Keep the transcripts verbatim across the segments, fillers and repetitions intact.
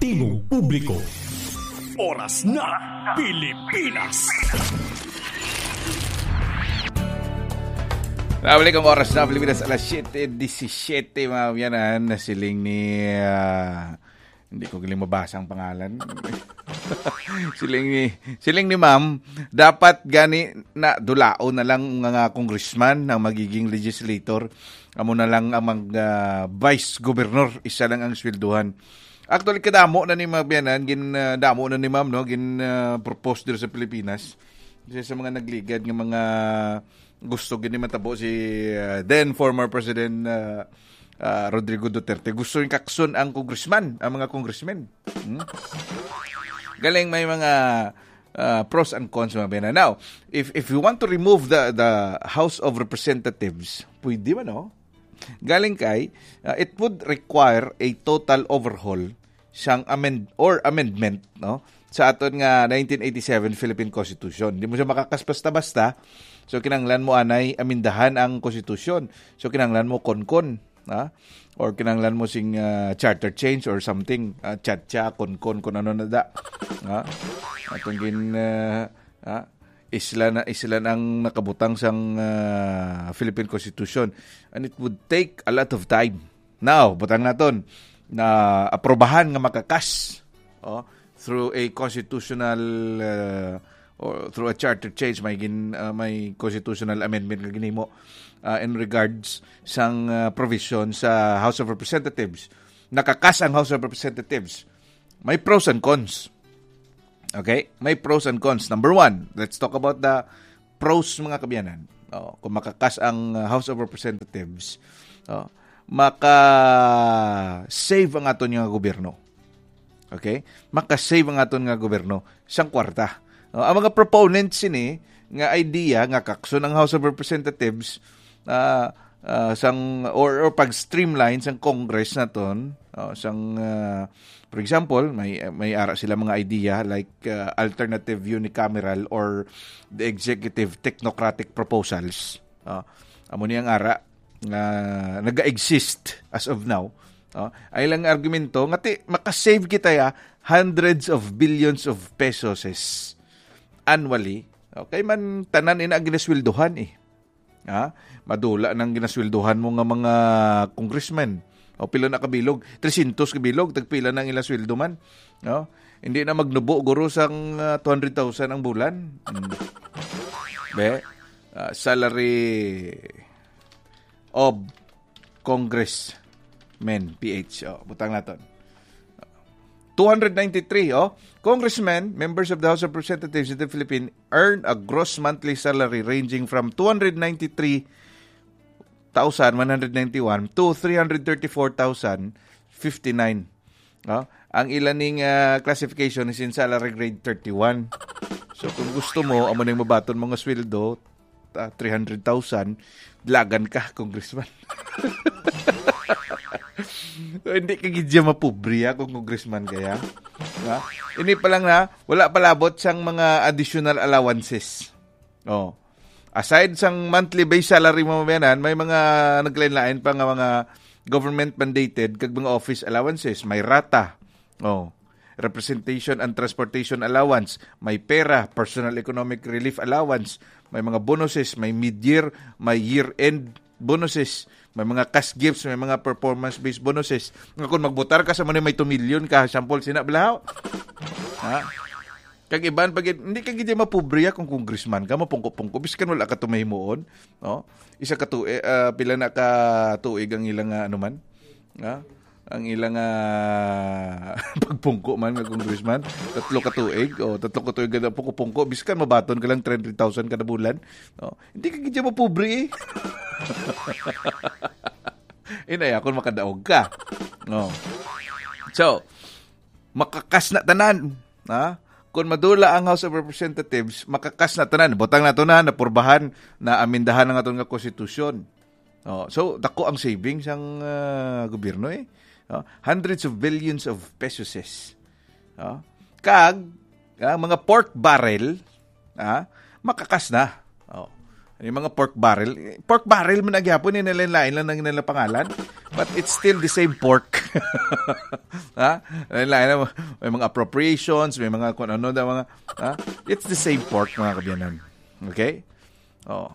Tingog Publiko. Oras na, Pilipinas. Nabalik ang oras na Pilipinas, alas siyete disisiyete, mga biyanan, na siling ni, ah, hindi ko galing mabasa ang pangalan. Siling ni, siling ni ma'am, dapat gani na dulaon na lang nga, nga congressman ang magiging legislator. Amo na lang ang mag, ah, vice governor, isa lang ang swelduhan. Actually, kadamo na ni mga biyanan, gin, ah, damo na ni ma'am, no? Gin, ah, propose diri sa Pilipinas. Isa sa mga nagligad nga mga gusto gini matabo si, ah, then former President, ah, ah, Rodrigo Duterte. Gusto yung kakson ang congressman, ang mga congressmen. Hmm? Galing may mga, ah, pros and cons, mga biyanan. Now, if, if you want to remove the, the House of Representatives, pwede man, no? Galing kay, ah, it would require a total overhaul sang amend or amendment, no, sa aton nga nineteen eighty-seven Philippine Constitution. Di mo siya makakas basta-basta. So, kinahanglan mo anay amindahan ang Constitution. So, kinahanglan mo konkon, ha? Or kinahanglan mo sing, ah, charter change or something, ah, cha-cha, konkon, kung ano na da. Ha? Atong gin, ah, ha? Isla na, isla ang nakabutang sang, ah, Philippine Constitution. And it would take a lot of time. Now, butang naton na aprobahan nga makakas, oh, through a constitutional, uh, or through a charter change, may gin-, uh, may constitutional amendment nga ginhimo, uh, in regards sang, uh, provision sa House of Representatives. Nakakas ang House of Representatives. May pros and cons. Okay? May pros and cons. Number one, let's talk about the pros, mga kabiyanan. Oh, kung makakas ang, uh, House of Representatives, oh, maka-save ang aton nga gobyerno. Okay? Maka-save ang aton nga gobyerno sang kwarta. Oh, ang mga proponents sini nga idea nga kakson ang House of Representatives, ah, ah, sang, or, or pag-streamline sang Congress naton, oh, sang, ah, for example, may, may ara sila mga idea like, ah, alternative unicameral or the executive technocratic proposals. Oh, amo ni ang ara nga naga-exist as of now. Oh, ay lang argumento nga ti makasave kita ya hundreds of billions of pesos annually. Okay man, tanan ina ang ginasweldohan eh. Ha? Madula nang ginasweldohan mo nga mga congressmen. O pila na kabilog? Trescientos kabilog, tagpila na ang ila sweldo man. No? Hindi na magnubo, guro, sang, ah, two hundred thousand ang bulan. Mm. Be, ah, salary of congressmen, P H. Oh, butang naton. Two hundred ninety-three, oh. Congressmen, members of the House of Representatives in the Philippines, earn a gross monthly salary ranging from two hundred ninety-three thousand one hundred ninety-one to three hundred thirty-four thousand fifty-nine. No? Ang ila ning, ah, classification is in salary grade thirty-one. So, kung gusto mo, amo nang mabaton mga sweldo, ah, three hundred thousand, dalagan ka, congressman. So, hindi ka gid siya mapobre, ah, kung congressman kaya. Ha? Ini pa lang na, wala palabot sang mga additional allowances. Oh. Aside sang monthly base salary mo, mabayanan, may mga naglain-lain pa nga mga government mandated kag mga office allowances, may rata. Oh. Representation and transportation allowance, may pera, personal economic relief allowance, may mga bonuses, may mid-year, may year-end bonuses, may mga cash gifts, may mga performance-based bonuses. Nga kung magbotar ka sa man may two million ka, sample, sina balahaw. Ha? Kag iban pa gid, hindi ka gid mapobre kung congressman ka, mapungko-pungko, biskan wala ka tumahimuon, no? Isa ka tuig, ah, pila na ka tuig ang ilang, ah, ano man? Ha? Ang ilang, ah, pagpungko man nga congressman, tatlo ka tuig, o tatlo ka tuig ka pungko-pungko, biskan mabaton ka lang three hundred thousand kada bulan, no? Hindi ka gid mapobre eh. Inaya kung makadaog ka. No. So, makakas na tanan, ha? Kung madula ang House of Representatives, makakas na tanan. Butang na to na, napurbahan, na amindahan ang aton nga konstitusyon. Oh, so, dako ang savings ang, ah, gobyerno eh. Oh, hundreds of billions of pesos. Oh. Kag, ang mga pork barrel, ah, makakas na. Oh. Ano yung mga pork barrel? Pork barrel man na gyapon, eh, lain-lain lang ang nila pangalan. But it's still the same pork. Ha? Lain-lain lang. May mga appropriations, may mga kung ano na mga, ha? It's the same pork, mga kabiyanan. Okay? Oh.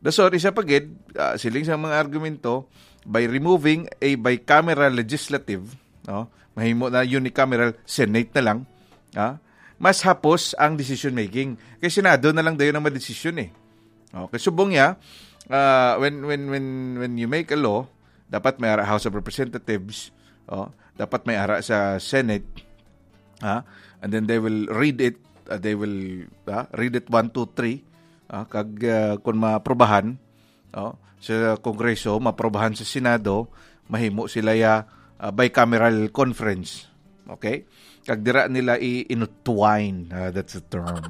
Dasor, isa pa gid, ah, siling sa mga argumento, by removing a bicameral legislative, no? Mahimo na unicameral, Senate na lang, ha? Mas hapos ang decision making. Kay Senado na lang dayon ang madesisyon eh. Oh, kay subong niya, ah, when, when, when, when you make a law, dapat may ara House of Representatives, oh, dapat may ara sa Senate, ha? And then they will read it, uh, they will, ah, read it one, two, three, ah, kag, ah, kung maprobahan, oh, sa Kongreso, maprobahan sa Senado, mahimo sila ya, ah, bicameral conference. Okay? Kag dira nila i-intertwine. Ah, that's a term.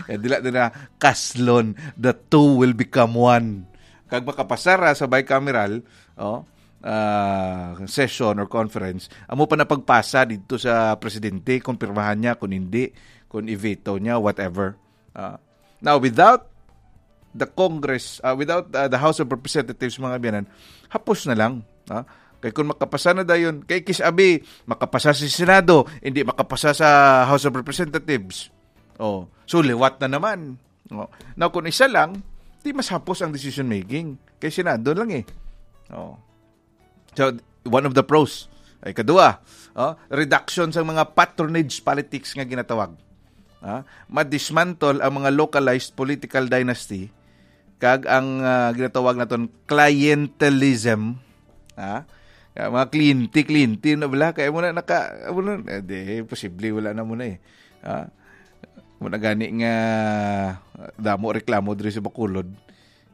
Eh, dila nila kaslon. The two will become one. Kag makapasara sa bicameral, oh, ah, session or conference, amo pa na pagpasa dito sa presidente, kung pirmahan niya, kung hindi, kung i-veto niya, whatever. Ah, now, without the Congress, ah, without, ah, the House of Representatives, mga biyanan, hapos na lang. Ah, kay kung makapasa na dayon, kay kis-abi, makapasa sa Senado, hindi makapasa sa House of Representatives. Oh, so liwat na naman. Oh. Now, kung isa lang, di mas hapos ang decision making. Kay Senado lang eh. Oh. So, one of the pros. Ay, kadua, oh, reduction sa mga patronage politics nga ginatawag. Ah, madismantle ang mga localized political dynasty kag ang, ah, ginatawag naton clientelism. Ah, kaya mga kliyente, kliyente na bala. Kaya mo na naka, mo na, eh, di, posible wala na mo na eh. Ah, mo na gani nga damo reklamo diri sa Bacolod.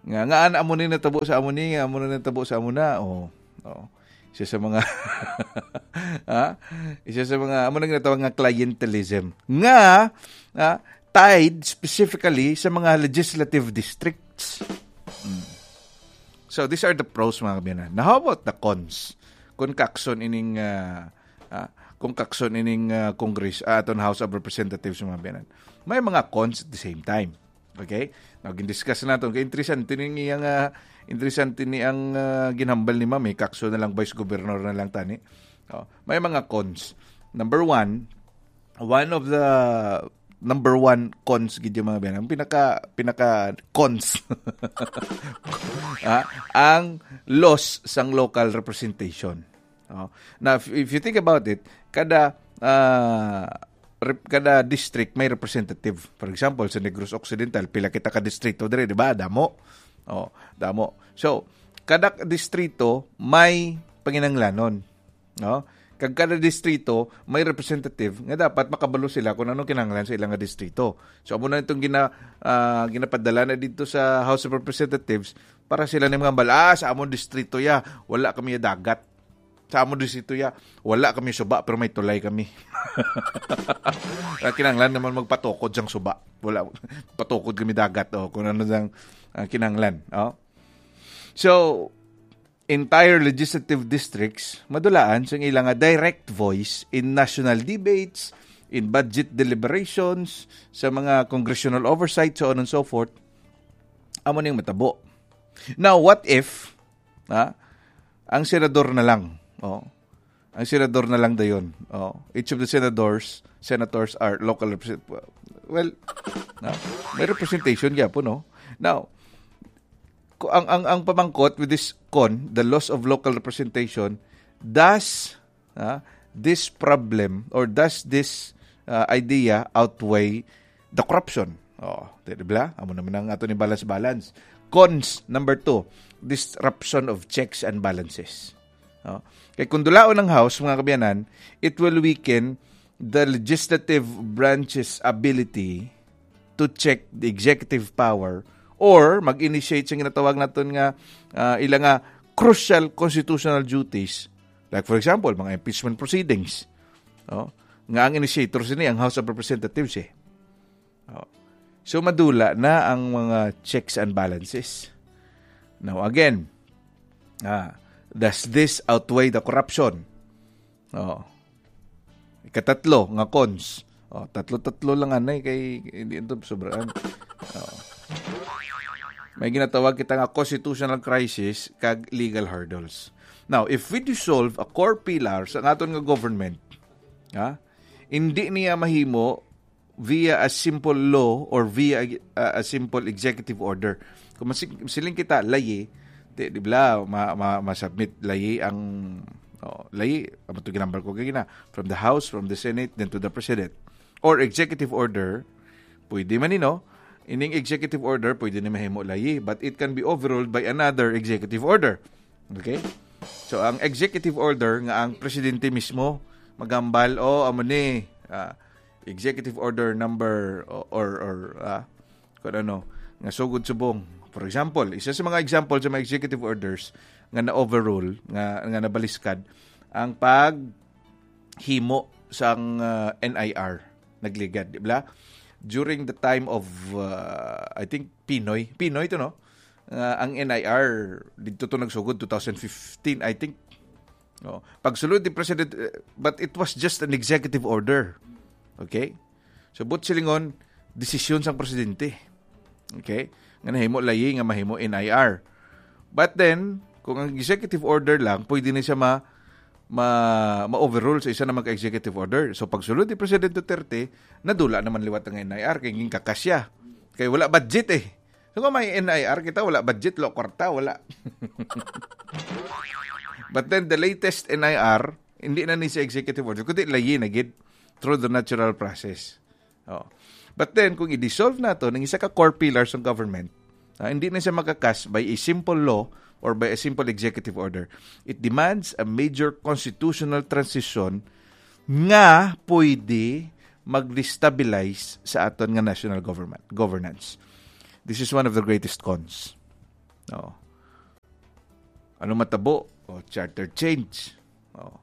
Nga, nga, an-, amo ni natabo sa amo ni, nga amo na natabo sa amo na. Oh. Oh. Isa sa mga, ha? Isa sa mga, amo na ginatawag nga clientelism. Nga, ah, tied specifically sa mga legislative districts. Mm. So, these are the pros, mga kabiyanan. Now, how about the cons? Kung kakson ining, ah, ah, kung kakson ining, ah, Congress, ah, aton House of Representatives, mga kabiyanan. May mga cons at the same time. Okay? Now, gindiscuss naton. Kay interesante ni iyang, ah, interesante ni ang, ah, ginhambal ni Ma'am. Eh, kakso na lang, vice governor na lang tani. Oh, may mga cons. Number one, one of the number one cons gid yung mga biyanan. Ang pinaka, pinaka cons. Ah, ang loss sang local representation. Oh. Now, if, if you think about it, kada, ah, rep-, kada district may representative. For example, sa Negros Occidental, pila kita ka distrito diri, di ba? Damo. Oh, damo. So, kada distrito may panginahanglanon, no? Kag kada distrito may representative nga dapat makabalo sila kung anong kinahanglan sa ilang nga distrito. So, amo na itong gina-, ah, ginapadala na dito sa House of Representatives para sila ni mga bal-, "Ah, sa among distrito ya, wala kami dagat. Sa among distrito ya, wala kami suba, pero may tulay kami." Ah, kinahanglan naman magpatukod sang suba. Wala, patukod kami dagat, oh, kung ano sang, ah, kinahanglan, oh. So, entire legislative districts madulaan sa ila nga direct voice in national debates, in budget deliberations, sa mga congressional oversight, so on and so forth. Amo ning matabo. Now, what if, ha, ang senador na lang, oh, ang senador na lang dayon, oh, each of the senators, senators are local represent-, well, na, may representation gyapon, no? Now, ku-, ang, ang, ang pamangkot with this con, the loss of local representation, does, ah, this problem or does this, ah, idea outweigh the corruption? Oh, di, di ba? Amo naman ang ato ni balance-balance. Cons, number two, disruption of checks and balances. Oh. Kay kung dulaon ang House, mga kabiyanan, it will weaken the legislative branch's ability to check the executive power or mag-initiate sa ginatawag naton nga, ah, ila nga crucial constitutional duties. Like, for example, mga impeachment proceedings. Oh, nga ang initiator sini ang House of Representatives eh. Oh. So, madula na ang mga checks and balances. Now, again, ah, does this outweigh the corruption? Oh. Ikatatlo nga cons. Oh, tatlo-tatlo lang anay kay hindi ito sobraan. Oh. May ginatawag kita nga constitutional crisis kag legal hurdles. Now, if we dissolve a core pillar sa aton nga government, ha, hindi niya mahimo via a simple law or via a, a simple executive order. Kung masig-, siling kita, layi, di, di ba, ma, ma, ma-submit layi ang, oh, layi, ang ito ginambal ko kagina, from the House, from the Senate, then to the President. Or executive order, pwede man, you know, ining executive order, pwede ni mahimo layi, but it can be overruled by another executive order. Okay? So, ang executive order nga ang presidente mismo magambal, "Oh, amo ni, ah, executive order number," o-, or, or, ah, kung ano, nga sugod subong. For example, isa sa mga example sa mga executive orders nga na-overrule, nga, nga nabaliskad, ang paghimo sang, ah, N I R, nagligad, di ba? During the time of, ah, I think, Pinoy. Pinoy to, no? Ah, ang N I R, dito to nagsugod, two thousand fifteen, I think. Oh, pagsulod ni President, eh, but it was just an executive order. Okay? So, but silingon, desisyon sang presidente. Okay? Nga nahimo layi nga mahimo N I R. But then, kung ang executive order lang, pwede na siya ma, ma, ma-overrule sa isa naman ka executive order. So, pagsulod ni President Duterte, nadula naman liwat ang N I R, kay ginkakas siya. Kay wala budget eh. So, kung may N I R kita, wala budget, wala kwarta, wala. But then, the latest N I R, hindi na ni sa executive order, kundi layi na gid through the natural process. Oh. But then, kung i-dissolve nato ang isa ka core pillars ng government, ah, hindi na siya makakas by a simple law or by a simple executive order. It demands a major constitutional transition nga pwede mag-destabilize sa aton nga national government, governance. This is one of the greatest cons. Oh. Ano matabo? Oh, charter change. Oh.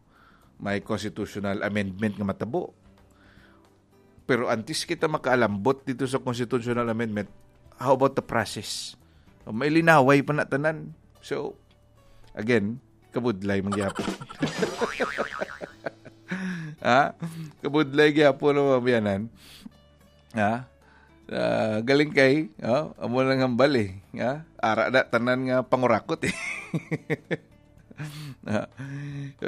May constitutional amendment nga matabo. Pero antes kita makaalambot dito sa constitutional amendment, how about the process? Oh, may linaway pa na tanan. So, again, kabudlay man gyapon. Ha? Kabudlay gyapon ang mga biyanan. Ha? Ah, galing kay, oh, amo lang hambal eh. Ha? Ara na tanan nga pangurakot eh. Ah,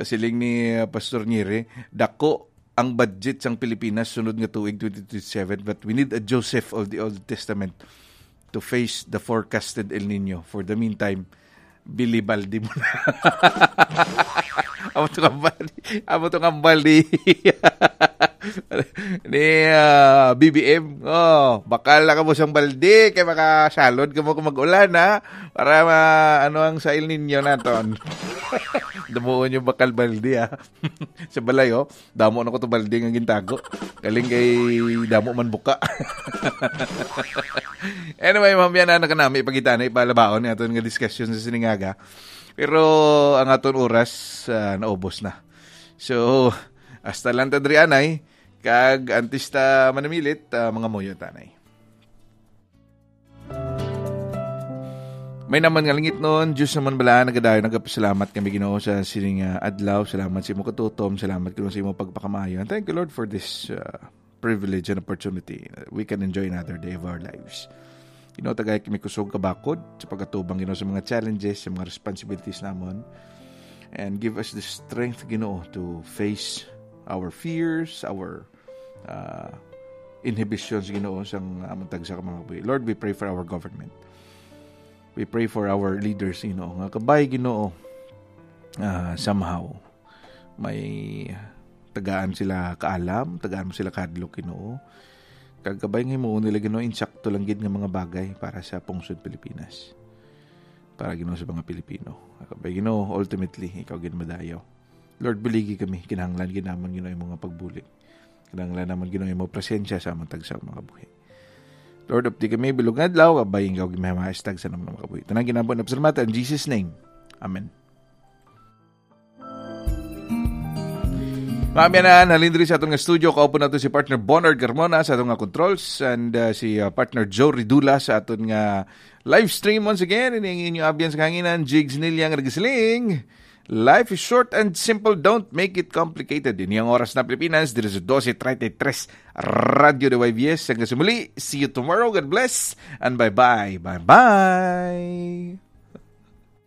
siling ni, ah, Pastor Nyeri, dako ang budget sang Pilipinas sunod nga tuig, twenty twenty-seven, but we need a Joseph of the Old Testament to face the forecasted El Nino. For the meantime, bili balde mo na. Amo to nga balde. Amo to nga balde. Ni, ah, B B M. Oh, bakal na kamo sang balde kay makasalod kamo kung mag-ulan, ha? Para ma-, ano ang sa El Nino naton. Damuon yung bakal balde, ha? Sa balay, oh. Damo na ko to balde nga gintago. Galing kay damo man buka. Anyway, mamaya na nakanami, ipagita na, ipalabaon ni aton nga diskusyon sa siningaga. Pero ang aton oras, ah, naubos na. So, hasta lang ta diri anay, kag antes ta manamilit, ah, mga muyo tanay. May naman nga langitnon, Diyos naman bala, nagadayon, nagapasalamat kami, Ginoo, sa sining, ah, adlaw. Salamat sa imo katutom, salamat, Ginoo, sa imo pagpakamaayo. And thank you, Lord, for this, ah, privilege and opportunity. We can enjoy another day of our lives. Ginoo, tagay kami kusog kabakod sa pagkatubang, Ginoo, sa mga challenges, sa mga responsibilities namon. And give us the strength, Ginoo, to face our fears, our, ah, inhibitions, Ginoo, sang amon tagsa ka mga kabuhi. Lord, we pray for our government. We pray for our leaders, Ginoo, nga kabay, Ginoo, ah, somehow may tagaan sila kaalam, tagaan mo sila kahadlok, Ginoo. Kag kabay nga himuon nila, Ginoo, insakto lang gid nga mga bagay para sa pungsod Pilipinas, para, Ginoo, sa mga Pilipino. Kabay, Ginoo, ultimately, ikaw gid madayaw. Lord, buligi kami. Kinahanglan gid namon, Ginoo, imo nga pagbulig. Kinahanglan namon, Ginoo, imo presensya sa amon tagsa mga buhi. Lord, updi kami, bilog nga adlaw, kabay ikaw gimahimahas tagsa ng mga kabuhi. Tanan ginampo na pasalamatan in Jesus' name. Amen. Mga abyanan, halin diri sa atong studio, kaupo nato si partner Bernard Carmona sa atong nga controls and, uh, si, uh, partner Joe Ridula sa aton nga live stream. Once again, ini ang inyo abyan sa kahanginan, Jigs Nilyang Regisling. Life is short and simple. Don't make it complicated. Ini ang oras na Pilipinas, diri sa dose treinta y tres Radyo de Y B S. Hanggang sa muli, see you tomorrow. God bless and bye-bye. Bye-bye.